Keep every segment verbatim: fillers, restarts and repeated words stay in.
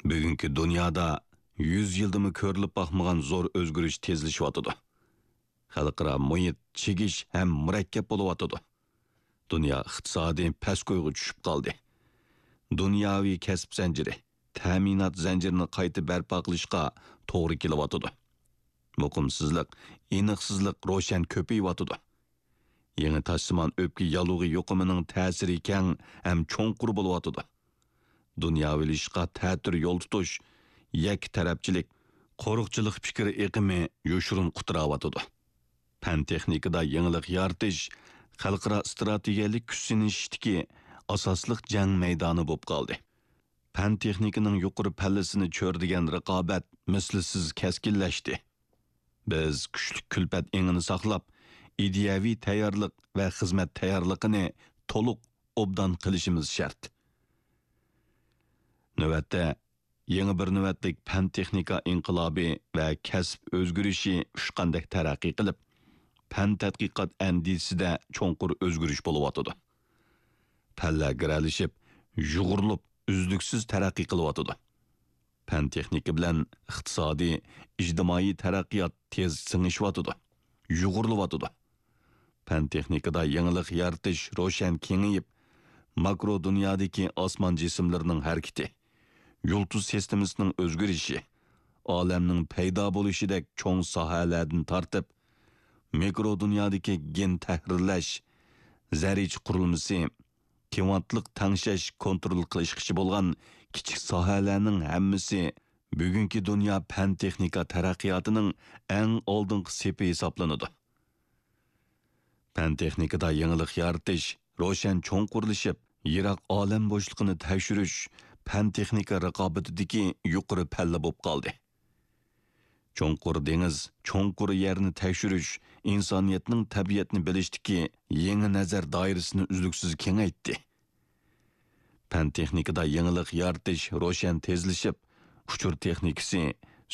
بۈگۈنكى دۇنيادا يۈز يىلدىمۇ كۆرۈلۈپ باقمىغان زور ئۆزگىرىش تېزلىشىۋاتىدۇ. خەلقئارا مۇھىت چىگىش ھەم مۇرەككەپ بولۇۋاتىدۇ. دۇنيا ئىقتىسادى پەسكويغا چۈشۈپ قالدى. دۇنياۋى كەسىپ زەنجىرى، تەمىنات زەنجىرىنى قايتا بەرپا قىلىشقا توغرا كېلىۋاتىدۇ. مۇقىمسىزلىق، ئېنىقسىزلىق روشەن كۆپىيىۋاتىدۇ. يېڭى تاشسىمان ئۆپكە ياللۇغى يۇقۇمىنىڭ تەسىرى كەڭ ھەم چوڭقۇر بولۇۋاتىدۇ. دۇنياۋىلىشىشقا تەتۈر يول تۇتۇش، يەككە تەرەپچىلىك، قورۇقچىلىق پىكىر ئېقىمى يوشۇرۇن قۇتراۋاتىدۇ. پەن-تېخنىكىدا يېڭىلىق يارىتىش خەلقئارا ئىستراتېگىيەلىك كۈچ سىنىشىشتىكى ئاساسلىق جەڭ مەيدانى بولۇپ قالدى. پەن-تېخنىكىنىڭ يۇقىرى پەللىسىنى چۆرىدىگەن رىقابەت مىسلىسىز كەسكىنلەشتى. بىز كۈچلۈك كۈلپەت ئېڭىنى ساقلاپ، ئىدىيەۋى تەييارلىق ۋە خىزمەت تەييارلىقىنى تولۇق ئوبدان قىلىشىمىز شەرت. نۆۋەتتە، يېڭى بىر نۆۋەتلىك پەن-تېخنىكا ئىنقىلابى ۋە كەسىپ ئۆزگىرىشى ئۇچقاندەك تەرەققىي قىلىپ، پەن-تەتقىقات ئەندىزىسىدە چوڭقۇر ئۆزگىرىش بولۇۋاتىدۇ. پەنلەر گىرەلىشىپ، يۇغۇرۇلۇپ، ئۈزلۈكسىز تەرەققىي قىلىۋاتىدۇ. پەن-تېخنىكا بىلەن ئىقتىسادىي، ئىجتىمائىي تەرەققىيات تېز سىڭىشىۋاتىدۇ، يۇغۇرۇلۇۋاتىدۇ. پەن-تېخنىكىدا يېڭىلىق يارىتىش روشەن كېڭىيىپ، ماكرو دۇنيادىكى ئاسمان جىسىملىرىنىڭ ھەرىكىتى، يۇلتۇز سىستېمىسىنىڭ ئۆزگىرىشى، ئالەمنىڭ پەيدا بولۇشىدەك چوڭ ساھەلەردىن تارتىپ، مىكرو دۇنيادىكى گېن تەھرىرلەش، زەررىچە قۇرۇلمىسى، كىۋانتلىق تەڭشەش كونترول قىلىشقىچە بولغان كىچىك ساھەلەرنىڭ ھەممىسى بۈگۈنكى دۇنيا پەن-تېخنىكا تەرەققىياتىنىڭ ئەڭ ئالدىنقى سېپى ھېسابلىنىدۇ. پەن-تېخنىكىدا يېڭىلىق يارىتىش روشەن چوڭقۇرلىشىپ، يىراق ئالەم بوشلۇقىنى تەكشۈرۈش پەن-تېخنىكا رىقابىتىدىكى يۇقىرى پەللە بولۇپ قالدى. چوڭقۇر دېڭىز، چوڭقۇر يەرنى تەكشۈرۈش ئىنسانىيەتنىڭ تەبىئەتنى بىلىشتىكى يېڭى نەزەر دائىرىسىنى ئۈزلۈكسىز كېڭەيتتى. پەن-تېخنىكىدا يېڭىلىق يارىتىش روشەن تېزلىشىپ، ئۇچۇر تېخنىكىسى،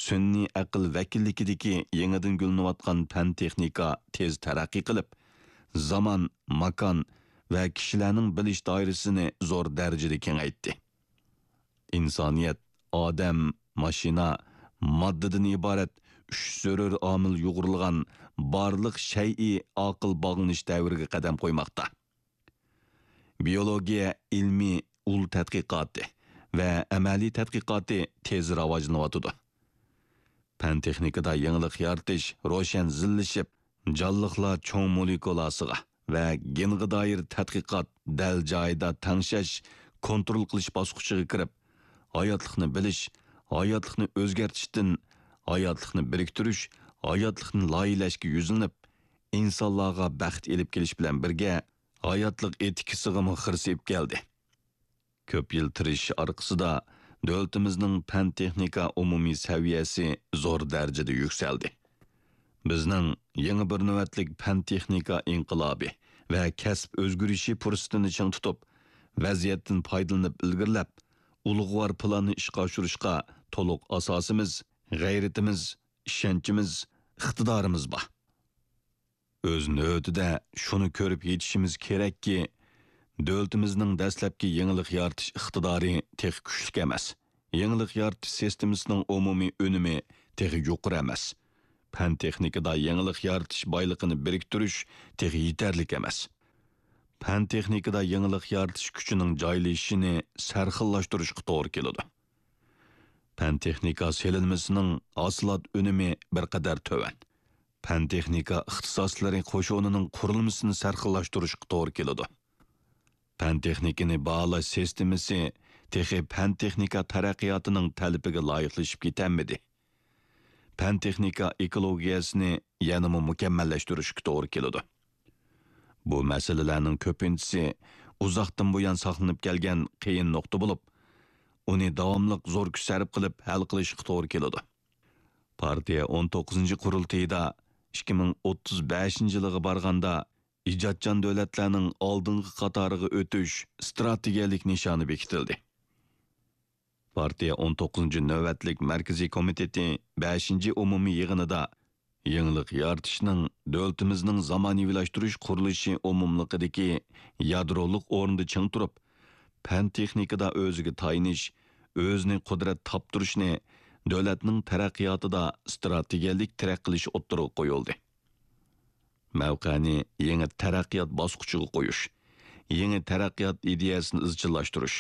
سۈنئىي ئەقىل ۋەكىللىكىدىكى يېڭىدىن گۈللىنىۋاتقان پەن-تېخنىكا تېز تەرەققىي قىلىپ، زامان، ماكان ۋە كىشىلەرنىڭ بىلىش دائىرىسىنى زور دەرىجىدە كېڭەيتتى. ئىنسانىيەت ئادەم، ماشىنا، ماددىدىن ئىبارەت ئۈچ زۆرۈر ئامىل يۇغۇرۇلغان بارلىق شەيئى ئاقىل باغلىنىش دەۋرىگە قەدەم قويماقتا. بىيولوگىيە ئىلمىي ئۇل تەتقىقاتى ۋە ئەمەلىي تەتقىقاتى تېز راۋاجلىنىۋاتىدۇ. پەن-تېخنىكىدا يېڭىلىق يارىتىش روشەن زىللىشىپ، جانلىقلار چوڭ مولېكۇلاسىغا ۋە گېنغا دائىر تەتقىقات دەل جايىدا تەڭشەش، كونترول قىلىش باسقۇچىغا كىرىپ، ھاياتلىقنى بىلىش، ھاياتلىقنى ئۆزگەرتىشتىن، ھاياتلىقنى بىرىكتۈرۈش، ھاياتلىقنى لايىھەلەشكە يۈزلىنىپ، ئىنسانلارغا بەخت ئېلىپ كېلىش بىلەن بىرگە، ھاياتلىق ئېتىكىسىغىمۇ خىرىسىيىپ كەلدى. كۆپ يىل تىرىشىش ئارقىسىدا، دۆلىتىمىزنىڭ پەن-تېخنىكا ئومۇمىي سەۋىيەسى زور دەرىجىدە يۈكسەلدى. بىزنىڭ يېڭى بىر نۆۋەتلىك پەن-تېخنىكا ئىنقىلابى ۋە كەسىپ ئۆزگىرىشى پۇرسىتىنى چىڭ تۇتۇپ، ۋەزىيەتتىن پايدىلىنىپ ئىلگىرىلەپ، ئۇلۇغۋار پىلاننى ئىشقا ئاشۇرۇشقا تولۇق ئاساسىمىز، غەيرىتىمىز، ئىشەنچىمىز، ئىقتىدارىمىز بار. ئۆز نۆۋىتىدە شۇنى كۆرۈپ يېتىشىمىز كېرەككى، دۆلىتىمىزنىڭ دەسلەپكى يېڭىلىق يارىتىش ئىقتىدارى تېخى كۈچلۈك ئەمەس. يېڭىلىق يارىتىش سىستېمىسىنىڭ ئومۇمىي ئۈنۈمى تېخى يۇقىرى ئەمەس. پەن-تېخنىكىدا يېڭىلىق يارىتىش بايلىقىنى بىرىكتۈرۈش تېخى يېتەرلىك ئەمەس. پەن-تېخنىكىدا يېڭىلىق يارىتىش كۈچىنىڭ جايلىشىشىنى سەرخىللاشتۇرۇشقا توغرا كېلىدۇ. پەن-تېخنىكا سېلىنمىسىنىڭ ھاسىلات ئۈنۈمى بىر قەدەر تۆۋەن. پەن-تېخنىكا ئىختىساسلىرى قوشۇنىنىڭ قۇرۇلمىسىنى سەرخىللاشتۇرۇشقا توغرا كېلىدۇ. پەن-تېخنىكىنى باھالاش سىستېمىسى تېخى پەن-تېخنىكا تەرەققىياتىنىڭ تەلىپىگە لايىقلىشىپ كېتەلمىدى. پەن-تېخنىكا ئېكولوگىيەسىنى يەنىمۇ مۇكەممەللەشتۈرۈشكە توغرا كېلىدۇ. بۇ مەسىلىلەرنىڭ كۆپىنچىسى ئۇزاقتىن بۇيان ساقلىنىپ كەلگەن قىيىن نۇقتا بولۇپ، ئۇنى داۋاملىق زور كۈچ سەرپ قىلىپ ھەل قىلىشقا توغرا كېلىدۇ. پارتىيە ئون توققۇزىنچى قۇرۇلتىيىدا ئىككى مىڭ ئوتتۇز بەشىنچى يىلىغا بارغاندا، ئىجادچان دۆلەتلەرنىڭ ئالدىنقى قاتارىغا ئۆتۈش ئىستراتېگىيەلىك نىشانى بېكىتىلدى. پارتىيە ئون توققۇزىنچى نۆۋەتلىك مەركىزىي كومىتېتى بەشىنچى ئومۇمىي يىغىنىدا يېڭىلىق يارىتىشنىڭ دۆلىتىمىزنىڭ زامانىۋىلاشتۇرۇش قۇرۇلۇشى ئومۇملۇقىدىكى يادرولۇق ئورنىدا چىڭ تۇرۇپ، پەن-تېخنىكىدا ئۆزىگە تايىنىش، ئۆزىنى قۇدرەت تاپتۇرۇشنى دۆلەتنىڭ تەرەققىياتىدا ئىستراتېگىيەلىك تىرەك قىلىش ئوتتۇرىغا قويۇلدى. مەۋقەنى يېڭى تەرەققىيات باسقۇچىغا قويۇش، يېڭى تەرەققىيات ئىدىيەسىنى ئىزچىللاشتۇرۇش،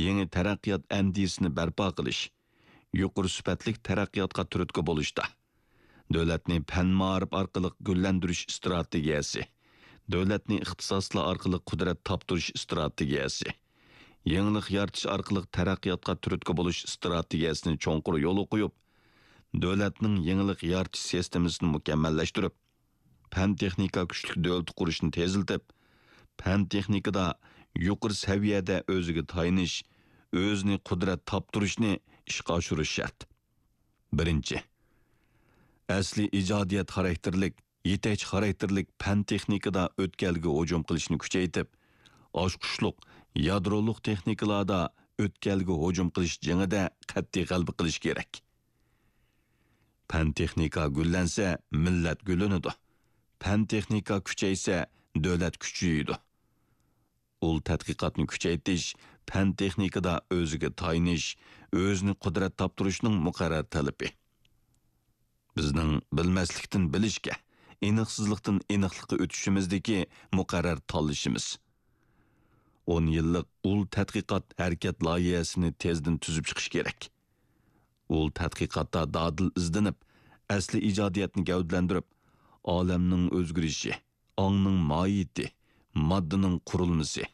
يېڭى تەرەققىيات ئەندىزىسىنى بەرپا قىلىش، يۇقىرى سۈپەتلىك تەرەققىياتقا تۈرتكە بولۇشتا، دۆلەتنى پەن-مائارىپ ئارقىلىق گۈللەندۈرۈش ئىستراتېگىيەسى، دۆلەتنى ئىختىساسلار ئارقىلىق قۇدرەت تاپتۇرۇش ئىستراتېگىيەسى، يېڭىلىق يارىتىش ئارقىلىق تەرەققىياتقا تۈرتكە بولۇش ئىستراتېگىيەسىنى چوڭقۇر يولغا قويۇپ، دۆلەتنىڭ يېڭىلىق يارىتىش سىستېمىسىنى مۇكەممەللەشتۈرۈپ، پەن-تېخنىكا كۈچلۈك دۆلىتى قۇرۇشنى تېزلىتىپ، پەن-تېخنىكىدا يۇقىرى سەۋىيەدە ئۆزىگە تايىنىش، ئۆزىنى قۇدرەت تاپتۇرۇشنى ئىشقا ئاشۇرۇش شەرت. بىرىنچى، ئەسلىي ئىجادىيەت خاراكتېرلىك، يېتەكچى خاراكتېرلىك پەن-تېخنىكىدا ئۆتكەلگە ھۇجۇم قىلىشنى كۈچەيتىپ، ئاچقۇچلۇق يادرولۇق تېخنىكىلاردا ئۆتكەلگە ھۇجۇم قىلىش جېڭىدە قەتئىي غەلىبە قىلىش كېرەك. پەن-تېخنىكا گۈللەنسە، مىللەت گۈللىنىدۇ. پەن-تېخنىكا كۈچەيسە، دۆلەت كۈچىيىدۇ. ئۇل تەتقىقاتنى كۈچەيتىش، پەن-تېخنىكىدا ئۆزىگە تايىنىش، ئۆزىنى قۇدرەت تاپتۇرۇشنىڭ مۇقەررەر تەلىپى. بىزنىڭ بىلمەسلىكتىن بىلىشكە، ئېنىقسىزلىقتىن ئېنىقلىققا ئۆتۈشىمىزدىكى مۇقەررەر تاللىشىمىز. ئون يىللىق ئۇل تەتقىقات ھەرىكەت لايىھەسىنى تېزدىن تۈزۈپ چىقىش كېرەك. ئۇل تەتقىقاتتا دادىل ئىزدىنىپ، ئەسلىي ئىجادىيەتنى گەۋدىلەندۈرۈپ، ئالەمنىڭ ئۆزگىرىشى، ئاڭنىڭ ماھىيىتى، ماددىنىڭ قۇرۇلمىسى،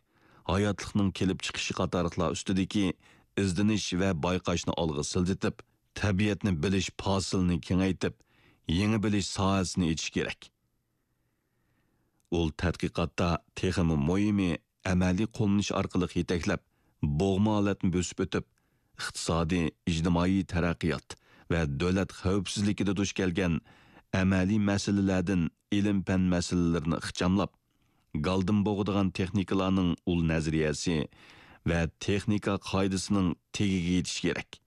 ھاياتلىقنىڭ كېلىپ چىقىشى قاتارلىقلار ئۈستىدىكى ئىزدىنىش ۋە بايقاشنى ئالغا سىلجىتىپ، تەبىئەتنى بىلىش پاسىلىنى كېڭەيتىپ، يېڭى بىلىش ساھەسىنى ئېچىش كېرەك. ئۇل تەتقىقاتتا تېخىمۇ مۇھىمى، ئەمەلىي قوللىنىش ئارقىلىق يېتەكلەپ، بوغما ھالەتنى بۆسۈپ ئۆتۈپ، ئىقتىسادىي، ئىجتىمائىي تەرەققىيات ۋە دۆلەت خەۋپسىزلىكىدە دۇچ كەلگەن ئەمەلىي مەسىلىلەردىن ئىلىم-پەن مەسىلىلىرىنى ئىخچاملاپ، گالدىن بوغىدىغان تېخنىكىلارنىڭ ئۇل نەزەرىيەسى ۋە تېخنىكا قائىدىسىنىڭ تېگىگە يېتىش كېرەك.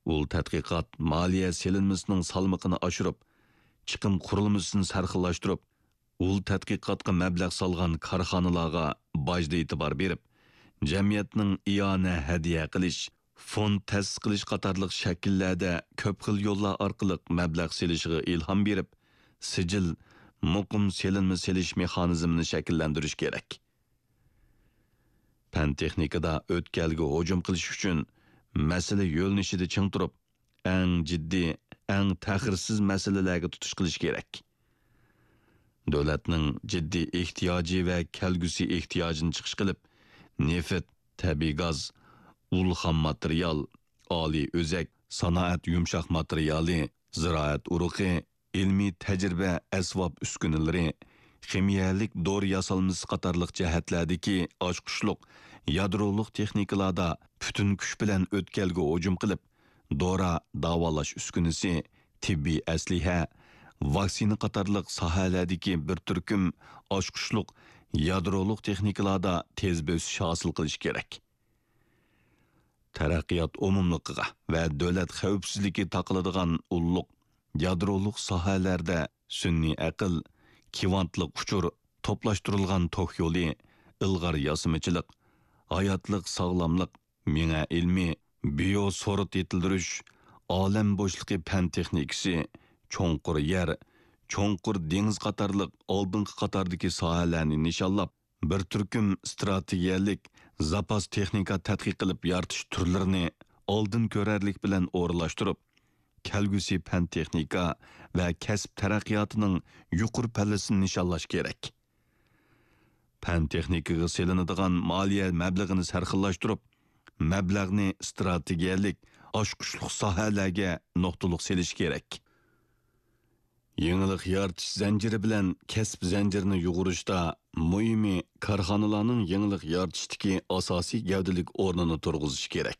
ئۇل تەتقىقات مالىيە سېلىنمىسىنىڭ سالمىقىنى ئاشۇرۇپ، چىقىم قۇرۇلمىسىنى سەرخىللاشتۇرۇپ، ئۇل تەتقىقاتقا مەبلەغ سالغان كارخانىلارغا باجدا ئېتىبار بېرىپ، جەمئىيەتنىڭ ئىئانە ھەدىيە قىلىش، فوند تەسىس قىلىش قاتارلىق شەكىللەردە كۆپ خىل يوللار ئارقىلىق مەبلەغ سېلىشىغا ئىلھام بېرىپ، سىجىل، مۇقىم سېلىنما سېلىش مېخانىزمىنى شەكىللەندۈرۈش كېرەك. پەن-تېخنىكىدا ئۆتكەلگە ھۇجۇم قىلىش ئۈچۈن مەسىلە يۆنىلىشىدە چىڭ تۇرۇپ، ئەڭ جىددىي، ئەڭ تەخىرسىز مەسىلىلەرگە تۇتۇش قىلىش كېرەك. دۆلەتنىڭ جىددىي ئېھتىياجى ۋە كەلگۈسى ئېھتىياجىنى چىقىش قىلىپ، نېفىت، تەبىئىي گاز، ئۇل خام ماتېرىيال، ئالىي ئۆزەك، سانائەت يۇمشاق ماتېرىيالى، زىرائەت ئۇرۇقى، ئىلمىي تەجرىبە ئەسۋاب ئۈسكۈنىلىرى، خىمىيەلىك دورا ياسالمىسى قاتارلىق جەھەتلەردىكى ئاچقۇچلۇق يادرولۇق تېخنىكىلاردا پۈتۈن كۈچ بىلەن ئۆتكەلگە ھۇجۇم قىلىپ، دورا، داۋالاش ئۈسكۈنىسى، تېببىي ئەسلىھە، ۋاكسىنا قاتارلىق ساھەلەردىكى بىر تۈركۈم ئاچقۇچلۇق يادرولۇق تېخنىكىلاردا تېز بۆسۈش ھاسىل قىلىش كېرەك. تەرەققىيات ئومۇملۇقىغا ۋە دۆلەت خەۋپسىزلىكى تاقىلىدىغان ئۇللۇق يادرولۇق ساھەلەردە سۈنئىي ئەقىل، كۋانتلىق ئۇچۇر، توپلاشتۇرۇلغان توك يولى، ئىلغار ياسىمىچىلىق، ھاياتلىق ساغلاملىق، مېڭە ئىلمى، بىيو سورت يېتىلدۈرۈش، ئالەم بوشلۇقى پەن تېخنىكىسى، چوڭقۇر يەر، چوڭقۇر دېڭىز قاتارلىق ئالدىنقى قاتاردىكى ساھەلەرنى نىشانلاپ، بىر تۈركۈم ئىستراتېگىيەلىك زاپاس تېخنىكا تەتقىق قىلىپ يارىتىش تۈرلىرىنى ئالدىن كۆرەرلىك بىلەن ئورۇنلاشتۇرۇپ، كەلگۈسى پەن تېخنىكا ۋە كەسىپ تەرەققىياتىنىڭ يۇقىرى پەللىسىنى نىشانلاش كېرەك. پەن تېخنىكىغا سېلىنىدىغان مالىيە مەبلىغىنى سەرخىللاشتۇرۇپ، مەبلەغنى ئىستراتېگىيەلىك، ئاچقۇچلۇق ساھەلەرگە نۇقتىلىق سېلىش كېرەك. يېڭىلىق يارىتىش زەنجىرى بىلەن كەسىپ زەنجىرىنى يۇغۇرۇشتا مۇھىمى كارخانىلارنىڭ يېڭىلىق يارىتىشتىكى ئاساسىي گەۋدىلىك ئورنىنى تۇرغۇزۇش كېرەك.